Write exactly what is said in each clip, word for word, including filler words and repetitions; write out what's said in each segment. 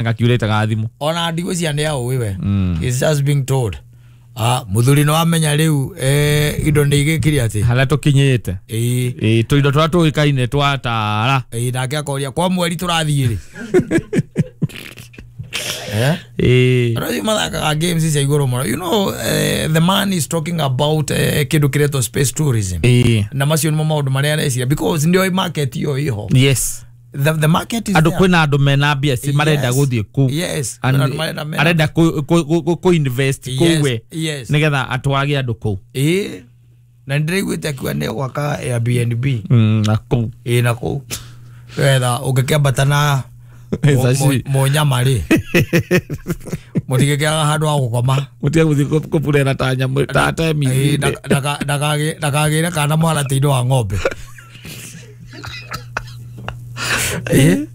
Ngakiurĩte ga thimũ. Ona ndigwĩciria nĩ aũĩ we. He's just being told, ah, mũthuri nĩ wamenya rĩu, eh, indo nĩ igĩkire atĩ harĩa tũkinyĩte. Ĩĩ. Ĩĩ, tũindo tũrĩa tũĩkaine twatara. Ĩĩ, nake akoria kwa mweri tũrathiĩ rĩ? Eh? Ĩĩ. Andũ acio mathakaga games cia igũrũ mũno. You know, eh, the man is talking about eh, kĩndũ kĩretwo space tourism. Ĩĩ. Na macio nĩmo maũndũ marĩa areciria because nĩoĩ market ĩyo ĩho. Yes. the, the market is Andũ there. kwĩna andũ mena mbia ci marenda Yes. gũthiĩ kũu. Yes. And Kwĩna andũ marenda mena- arenda kũ- kũ- kũ- kũ invest Yes, kũu we yes. nĩgetha atwage andũ kũu. Ĩĩ, na nĩndĩraiguĩte akiuga nĩ gwaka Airbnb. Mm, na kũu. Ĩĩ, na kũu wetha ũngĩkĩambata na Mbeca ci- mũnyama rĩ, mũtigĩkĩaga handũ ha gũkoma. Mũtige gũthiĩ kũ- kũburera ta nyamũ ta Ĩĩ, temi. ndaka- ndaka- ndakagĩ- ndakagĩre kana mũharatĩ-inĩ wa ng'ombe. Ĩĩ,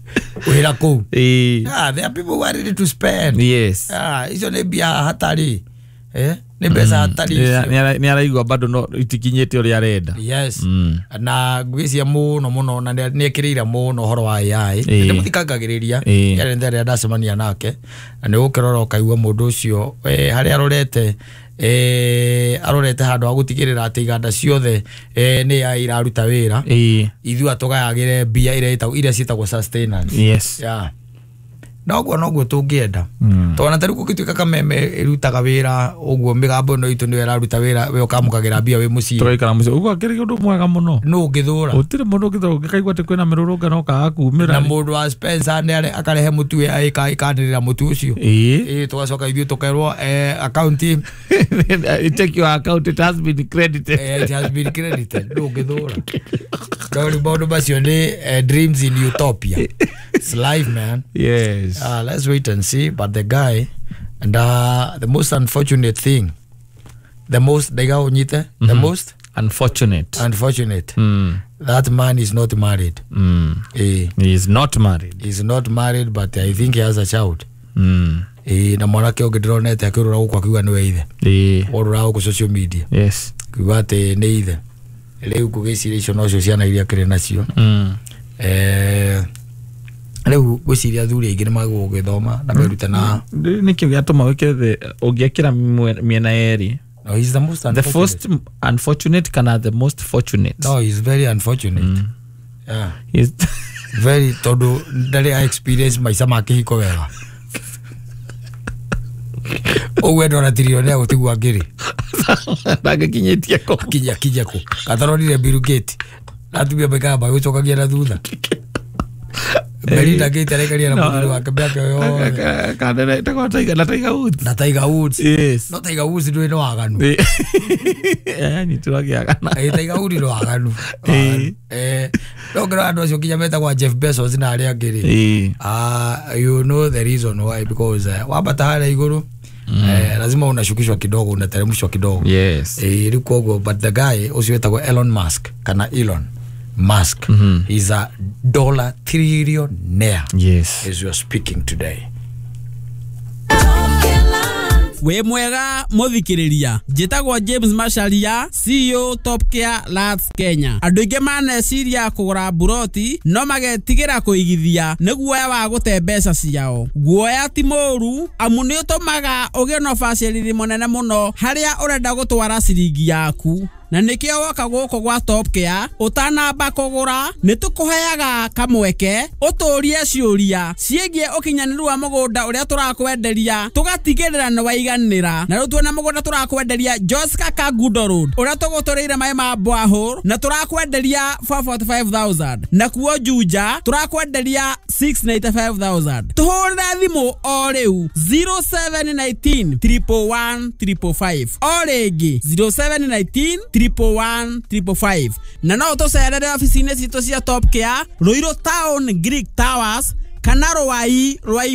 wĩra kũu. Ĩĩ. Ah, there are people who are ready to spend. Yes. Ah, icio nĩ mbia hatarĩ, eh, nĩ mbeca hatarĩ icio. Nĩ araigua bado no itikinyĩte ũrĩa arenda. Yes. Mm. Na ngwĩciria mũno mũno na nĩ ekĩrĩire mũno ũhoro wa A I. Ĩĩ. Ndĩmũthikangagĩrĩria. Ĩĩ. Yarĩ rĩrĩa ndacemania nake na nĩ gũkĩrora ũkaigua mũndũ ũcio, eh, harĩa arorete, eh, arorete handũ ha gũtigĩrĩra atĩ iganda ciothe, eh, nĩ A I iraruta wĩra. Ĩĩ. Ithuĩ atũgayagĩre mbia iria ĩtagwo- iria ciĩtagwo sustenance. Yes. Yeah. Noguo noguo tũngĩenda. Mm. Tondũ ta rĩu gũgĩtuĩka kameme ĩrutaga wĩra ũguo, mĩgambo ĩno itũ nĩyo ĩraruta wĩra, we ũkamũkagĩra mbia wĩ mũciĩ. Tũgaikara mũciĩ ũguo akĩrĩ ũndũ mwega mũno. Nũ ũngĩthũra? Gũtirĩ mũndũ ũngĩthũra ũngĩkaigua atĩ kwĩna mĩrũrũngano ũkaga kumĩra. Na mũndũ wa Spencer nĩ are- akarehe mũtu ĩ- ĩka- ĩkanĩrĩra mũtu ũcio. Ĩĩ. Ĩĩ, tũgacoka ithuĩ tũkerwo, eh, account Check your account, it has been credited. eh, it has been credited. Nũ ũngĩthũra? No rĩu maũndũ macio nĩ eh, dreams in utopia. It's life, man. Yes. Uh, let's wait and see. But the guy, and uh, the most unfortunate thing, the most, ndaiga ũnyite, the most Unfortunate. Unfortunate, mm. that man is not married. Mm. Eh, He is not married. He's not married, but I think he has a child. mm. Eh, na mwanake ũngĩ ndĩronete akĩũrũra gũkũ akiuga nĩwe ithe. Ĩĩ. Orũra gũkũ social media Yes. akiuga atĩ nĩ ithe. Rĩu ngũgĩciria icio nocio ciana iria akĩrĩ nacio. mm. Eh, rĩu ngwĩciria athuri aingĩ nĩ magũgĩthoma na merute na Nĩkĩo gĩatũma wĩkĩre the ũngĩekĩra mwe- mĩena yerĩ. No, he's the most The unfortunate. first unfortunate kana the most fortunate? No, he's very unfortunate, yeah. He's Very, tondũ ndarĩ a experience maica ma kĩhiko wega ũguo endora tirionea gũtigua ngĩrĩ. Ndangĩkinyĩtie kũ. Kinya kinya kũ kataronire Bill Gates na atumia maikaraga magĩcokagia na thutha. Melinda Gates araikaria na No. mũthuri wake mĩaka yothe. Kana na Tiger Woods. Na Tiger Woods. Yes. No Tiger Woods ndũĩ nĩ waganu. Anyitirwo akĩagana. Ĩ, Tiger Woods nĩ waganu. Ĩ. Eh, no ngĩrora andũ acio nginya metagwo Jeff Bezos na arĩa angĩ rĩ, Ĩĩ. Ah, you know the reason why, because uh, wambata harĩa igũrũ, eh, lazima unashukishwa kidogo, unateremshwa kidogo. Yes. Eh, rĩu koguo, but the guy ũcio wĩtagwo Elon Musk kana Elon Musk, he's a dollar trillionaire Yes. as you are speaking today. Wĩ mwega mũthikĩrĩria, njĩtagwo James Macharia, C E O Top Care Lands Kenya. Andũ aingĩ maneciria kũgũra mburoti no magetigĩra kũigithia nĩ guoya wa gũte mbeca ciao. Guoya ti mũũru amu nĩ ũtũmaga ũgĩe na ũbacĩrĩri mũnene mũno harĩa ũrenda gũtwara ciringi yaku, na nĩkĩo woka gũkũ gwa Top Care ũtanamba kũgũra nĩ tũkũheaga kamweke ũtũrie ciũria ciĩgiĩ ũkinyanĩru wa mũgũnda ũrĩa tũrakwenderia, tũgatigĩrĩra nĩ waiganĩra. Na rĩu tuona mũgũnda tũrakwenderia Joska Kangundo Road ũrĩa tũgũtũrĩire maĩ ma borehole na tũrakwenderia mĩrongo ĩna na ithano nakuo Juja tũrakwenderia mĩrongo ĩtandatũ na ithano. Tũhũrĩre thimũ o rĩu zero seven one nine triple one triple five, o rĩngĩ zero seven one nine triple one triple five, na no ũtũcerere obici-inĩ citũ cia Top Care, Ruiru Town, Greek Towers, kana Rwai Rwai.